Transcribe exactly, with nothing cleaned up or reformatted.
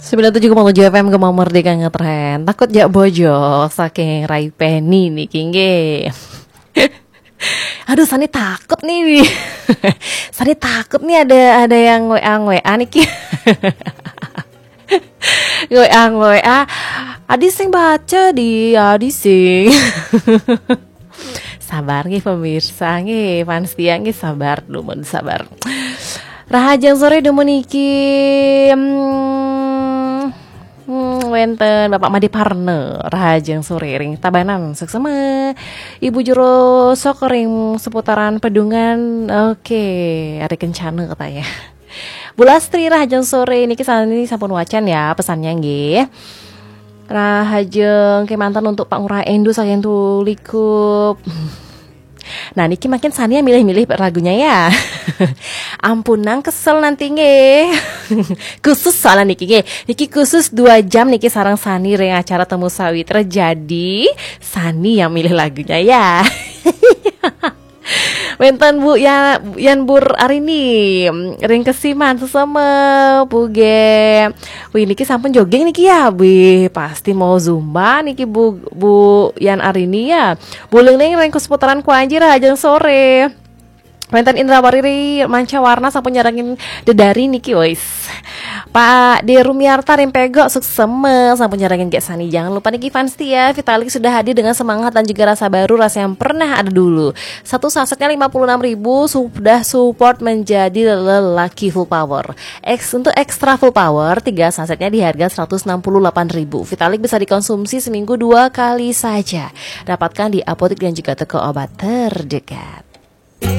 Sembilan tujuh koma tujuh F M Gema Merdeka ngetren. Takut jak bojo saking Rai Penny niki nggih. Aduh, Sani takut nih. Sani takut nih ada ada yang W A W A niki. W A W A. Adi sing baca di Adi sing. Sabar nggih pemirsa nggih, fans setia nggih, sabar dulu, sabar. Rahajeng sore dumun niki. Hmm, hmm, wenten Bapak Made Parne, rahajeng sore ring Tabanan, suksema. Ibu Jero Sok ring seputaran Pedungan. Oke, ada kencana katanya. Bu Lastri, rahajeng sore niki, sani sampun wacan ya pesannya nggih. Rahajeng kemanten untuk Pak Ngurah Endu saking Tulikup. Nah, niki makin Sani milih-milih lagunya ya. Ampun nang kesel nanti nggih. Khusus soalnya niki nggih. Niki khusus dua jam niki sareng Sani ring acara Temu Sawitra. Jadi Sani yang milih lagunya ya. Wenten Bu ya, Yan Bur Arini ring Kesiman sesama Bu ge. Wih, niki sampun jogging niki ya. Wih, pasti mau zumba niki Bu Bu Yan Arini ya. Buling ning ring seputaran Kuanji, rahajeng sore. Wenten Indra Wariri Manca Warna sampun nyarengin dedari niki, wis. Pak De Rumiarta ring Pego, suksema sampun nyarengin Gek Sani. Jangan lupa niki fans setia, Vitalik sudah hadir dengan semangat dan juga rasa baru, rasa yang pernah ada dulu. Satu sasetnya lima puluh enam ribu, sudah support menjadi lelaki full power. X untuk extra full power, tiga sasetnya di harga seratus enam puluh delapan ribu. Vitalik bisa dikonsumsi seminggu dua kali saja. Dapatkan di apotek dan juga toko obat terdekat.